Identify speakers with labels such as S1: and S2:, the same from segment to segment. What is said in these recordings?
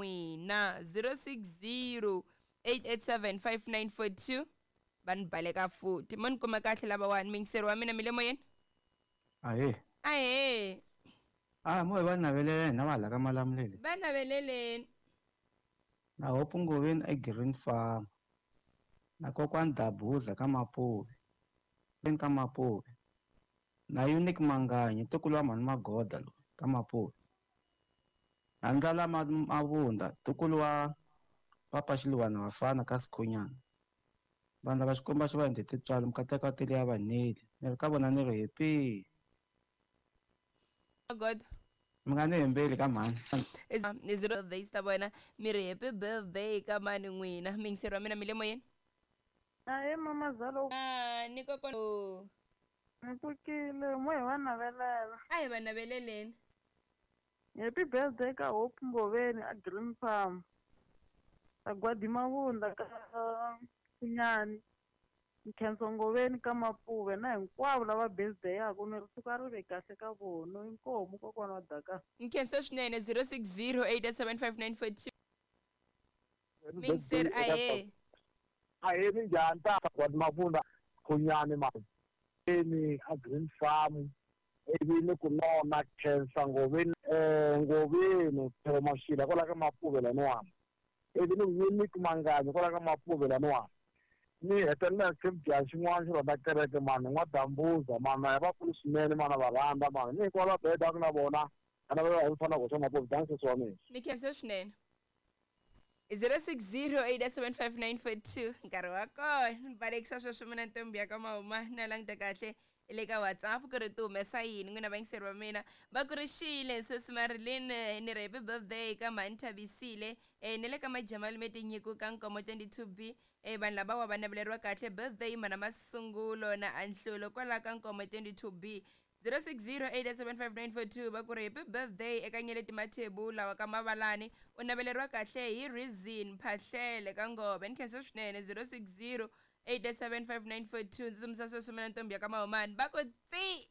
S1: n'wina. 060 887 5942 va ni baleka futhi. Mo ni kuma kahle lavawani, miyingiseri wa mina mi le moyeni.
S2: Ahee.
S1: Ahee.
S2: Ah, mo hi va navelela hina va hala ka Malamulele.
S1: Va naveleleni.
S2: Na Hope Ngoveni e Green Farm. Na kokwani Dabuza ka Mapuve. Ka Mapuve. Na Unique Manganyi ntukulu wa mhani Magoda loyi ka Mapuve. Na Ndlala Mavunda ntukulu wa Papa Xiluwana Vafana ka Sikhunyana. Vanhu lava Xikwembu xi va endle tintswalo mikateko ya tele ya vaneli. Ni ri ka vona ni ri happy.
S1: God.
S2: Mi nga ni hembeli ka mhani.
S1: Ni zero birthdays ta vona mi ri happy birthday ka mani n'wina. Miyingiseri wa mina mi le moyeni.
S3: Ahee mamazala.
S1: Ah, ni kokwana.
S3: Ni pfukile mo hi va navelela.
S1: A hi va naveleleni.
S3: Happy birthday ka Hope Ngoveni a Green Farm. Sagwadi Mavunda ka Khunyani. Nkhenso Ngoveni ka Mapuve na hinkwavo lava birthday yaku ni ri suka ri ve kahle ka vona. Inkomu kokwana wa Daka.
S1: Nkhensa swinene. 060 8875942. Miyingiseri ahee.
S4: Ahee minjhani ta Sagwadi Mavunda Khunyani mani. Ni a Green Farm ivi ni ku nona Khensa Ngoveni Ngoveni Theo Mashila kwala ka Mapuve laniwani. Ivi ni Unique Manganyi kwala ka Mapuve laniwani. Ni hetelela xibya xin'wana xi rhandza kereke mani n'wa-Dambuza mani ya vakulu swinene mani va rhandza mani ni hinkwavo va bedaku na vona a na va hi fana goxa Mapuve dances wa mina.
S1: Ni khensa swinene. 0608755942 nkarhi wa kona ni balekisa sweswo mina ntombi ya ka Mahuma na languta kahle le ka WhatsApp ku ri ti humesa yini n'wina vayingiseri va mina. Va ku ri xile sesi Marilyn, ni ri happy birthday ka mhani Thabisile, ni le ka Majamalume Tinyiko ka Nkomo 22B. Vanhu lavawa va naveleriwa kahle birthday mana Masungulo na Anhlulo kwala ka Nkomo 22B. 0608755942 va ku ri happy birthday eka Nyeleti Mathebula wa ka Mavalani, u naveleriwa kahle hi Reason Phahlele ka Ngove. Ni khensa swinene. 0608755942 ndzi tsundzuxa sweswo mina ntombi ya ka Mahumani. Va ku tsi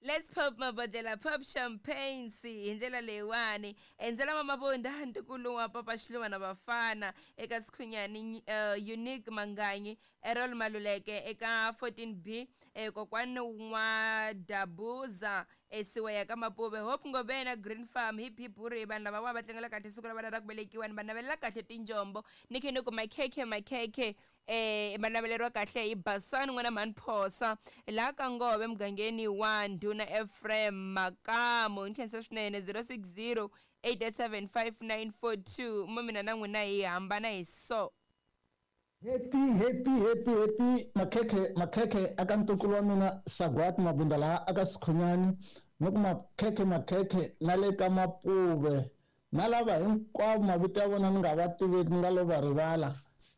S1: let's pop mabodlela, pop champagnes hi ndlela leyiwani. Endzela Mamavunda ntukulu wa Papa Xiluva na Vafana eka Sikhunyani, Unique Manganyi, Errol Maluleke eka 14B, kokwani N'wa-Dabuza Siweya ka Mapuve, Hope Ngovena Green Farm. Hip hip hurray, vanhu lava va tlangela kahle siku ra vona ra ku velekiwa, ni va navelela kahle tinjombo. Ni khe ni ku makhekhe makhekhe, va naveleriwa kahle hi Basani n'wana mhani Phosa laha ka Ngove mugangeni wa Ndhuna Ephraim Makamu. Ni khensa swinene. 060 8875942 mo mina na n'wina hi hambana hi so.
S5: Happy happy happy happy makhekhe makhekhe aka ntukulu wa mina Sagwati Mabunda laha aka Sikhunyani, ni ku makhekhe makhekhe na le ka Mapuve na lava hinkwavo mavito ya vona ni nga va tiveki ni nga lo va rivala,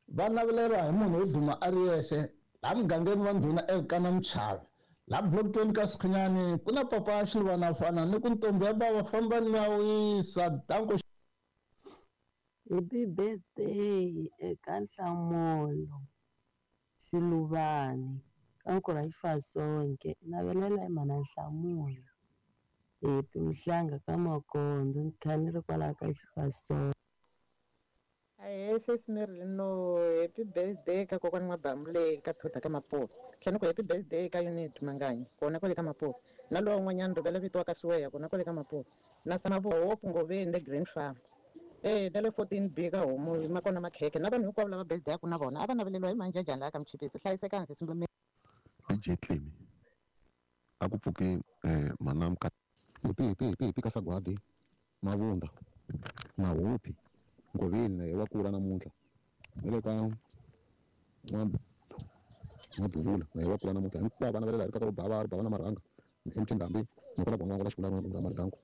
S5: va naveleriwa hi munhu wo duma a ri yexe laha mugangeni wa Ndhuna Elkana Mchavi laha block 20 ka Sikhunyani ku na papa Xiluvana fana ni ku ntombi ya bava fambani mi ya wisa. Danko.
S6: Happy birthday eka Nhlamulo Xiluvani ka Nkurha Xifasonke, navelela hi mhana Nhlamulo. Happy Mhlanga ka Makondo, ni kha ni ri kwalaho ka Xifasonke.
S7: Ahee sesi Marilyn, no happy birthday ka kokwani N'wa-Bamule ka Thota ka Mapuve. Tlhela ni ku happy birthday ka Unit Manganyi kona kwale ka Mapuve. Na luwa un'wanyana rivele vito ka Siweya kona kwale ka Mapuve. Na Samavuwa Hope Ngoveni le Green Farm. Na le 14B ka Homu ma kona makhekhe na vanhu hinkwavo lava birthday yaku na vona a va naveleriwa hi manjhejhani laha ka Mchipisi. Hlayisekani sesi Mbumeni.
S8: DJ Clemy a ku pfuki mhana Mka
S9: Happy happy happy happy ka Sagwadi Mavunda Mahupi Ngoveni na wa kula namuntlha ni le ka N'wa-Duvula na wa kula namuntlha hinkwavo vana va le laha ri ka bava ri bava na marhanga MT Ndhambi ni kona ku n'wana xikula Maridanku.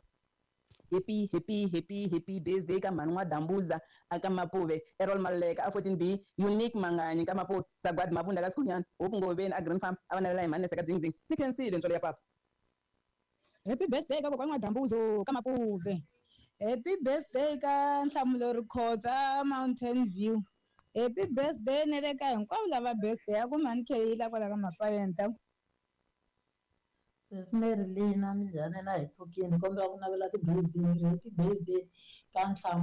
S10: Happy happy happy happy birthday ka mhani N'wa-Dambuza aka Mapuve, Errol Maluleka a 14B, Unique Manganyi ka Mapuve, Sagwadi Mabunda ka Sikhunyana, Hope Ngoveni a Green Farm a va navela hi mhani Neseka Dzingdzing. Ni khensile ntswalo ya papa.
S11: Happy birthday ka kokwani N'wa-Dambuzo ka Mapuve. Happy birthday ka Nhlamulo Rikhotsa Mountain View. Happy birthday ni le ka hinkwavo lava birthday ya ku mhani Kheyila kwala ka Mapayeni.
S12: Sesi Marilyn minjhani na hi pfukini kombela ku navela ti-birthday, happy birthday ka Nhlamulo.